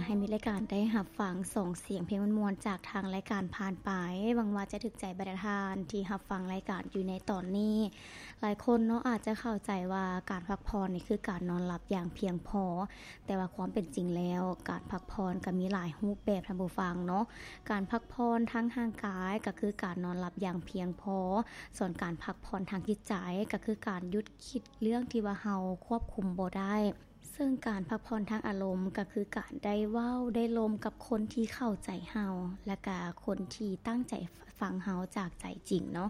ໃຫ້ມີລາຍການໄດ້ຮັບຟັງສອງສຽງເພງມ່ວນໆ ຈາກທາງລາຍການຜ່ານໄປ. ຫວັງວ່າຈະຖືກໃຈບັນດາທ່ານທີ່ຮັບຟັງລາຍການຢູ່ໃນຕອນນີ້. ຫຼາຍຄົນເນາະ ອາດຈະເຂົ້າໃຈວ່າການພັກຜ່ອນນີ້ຄືການນອນຫຼັບຢ່າງພຽງພໍ, ແຕ່ວ່າຄວາມເປັນຈິງແລ້ວ ການພັກຜ່ອນກໍມີຫຼາຍຮູບແບບ ທ່ານຜູ້ຟັງເນາະ. ການພັກຜ່ອນທາງຮ່າງກາຍກໍຄືການນອນຫຼັບຢ່າງພຽງພໍ, ສ່ວນການພັກຜ່ອນທາງຈິດໃຈກໍຄືການຢຸດຄິດເລື່ອງທີ່ວ່າເຮົາຄວບຄຸມບໍ່ໄດ້. ເຊິ່ງການພັກຜ່ອນທາງອາລົມກໍຄືການໄດ້ເວົ້າໄດ້ລົມກັບຄົນທີ່ເຂົ້າໃຈເຮົາ ແລະກະຄົນທີ່ຕັ້ງໃຈຟັງເຮົາຈາກໃຈຈິງເນາະ,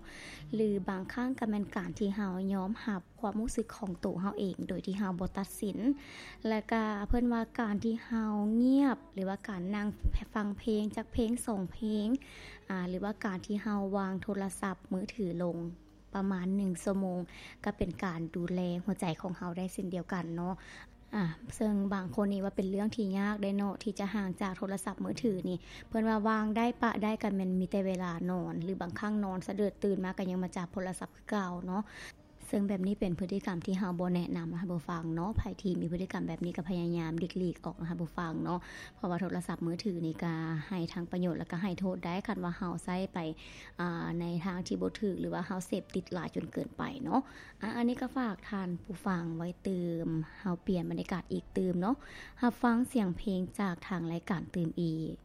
ຫຼືບາງຄັ້ງກໍແມ່ນການທີ່ເຮົາຍອມຮັບຄວາມຮູ້ສຶກຂອງໂຕເຮົາເອງໂດຍທີ່ເຮົາບໍ່ຕັດສິນ. ແລະກະເພິ່ນວ່າການທີ່ເຮົາງຽບ ຫຼືວ່າການນັ່ງຟັງເພງຈັກເພງສອງເພງ ອາ ຫຼືວ່າການທີ່ເຮົາວາງໂທລະສັບມືຖືລົງ ປະມານໜຶ່ງຊົ່ວໂມງ ກໍເປັນການດູແລຫົວໃຈຂອງເຮົາໄດ້ເຊັ່ນດຽວກັນເນາະ. ອາ ເຊິ່ງບາງຄົນນີ້ວ່າເປັນເລື່ອງທີ່ຍາກເດ້ເນາະ ທີ່ຈະຫ່າງຈາກໂທລະສັບມືຖືນີ້. ເພິ່ນວ່າວາງໄດ້ປະໄດ້ກໍແມ່ນມີແຕ່ເວລານອນ ຫຼືບາງຄັ້ງນອນສະເດີດຕື່ນມາກໍຍັງມາຈັບໂທລະສັບຄືເກົ່າເນາະ. ເຊິ່ງແບບນີ້ເປັນພຶດຕິກຳທີ່ເຮົາບໍ່ແນະນຳນະທ່ານຜູ້ຟັງເນາະ. ໃຜທີ່ມີພຶດຕິກຳແບບນີ້ກໍພະຍາຍາມຫຼີກຫຼີກອອກນະທ່ານຜູ້ຟັງເນາະ. ເພາະວ່າໂທລະສັບມືຖືນີ້ກໍໃຫ້ທັງປະໂຫຍດ ແລະກໍໃຫ້ໂທດໄດ້ ຄັນວ່າເຮົາໃຊ້ໄປ ອາ ໃນທາງທີ່ບໍ່ຖືກ ຫຼືວ່າເຮົາເສບຕິດຫຼາຍຈົນເກີນໄປເນາະ. ອາ ອັນນີ້ກໍຝາກທ່ານຜູ້ຟັງໄວ້ຕື່ມ, ເຮົາປ່ຽນບັນຍາກາດອີກຕື່ມເນາະ, ຮັບຟັງສຽງເພງຈາກທາງລາຍການຕື່ມອີກ.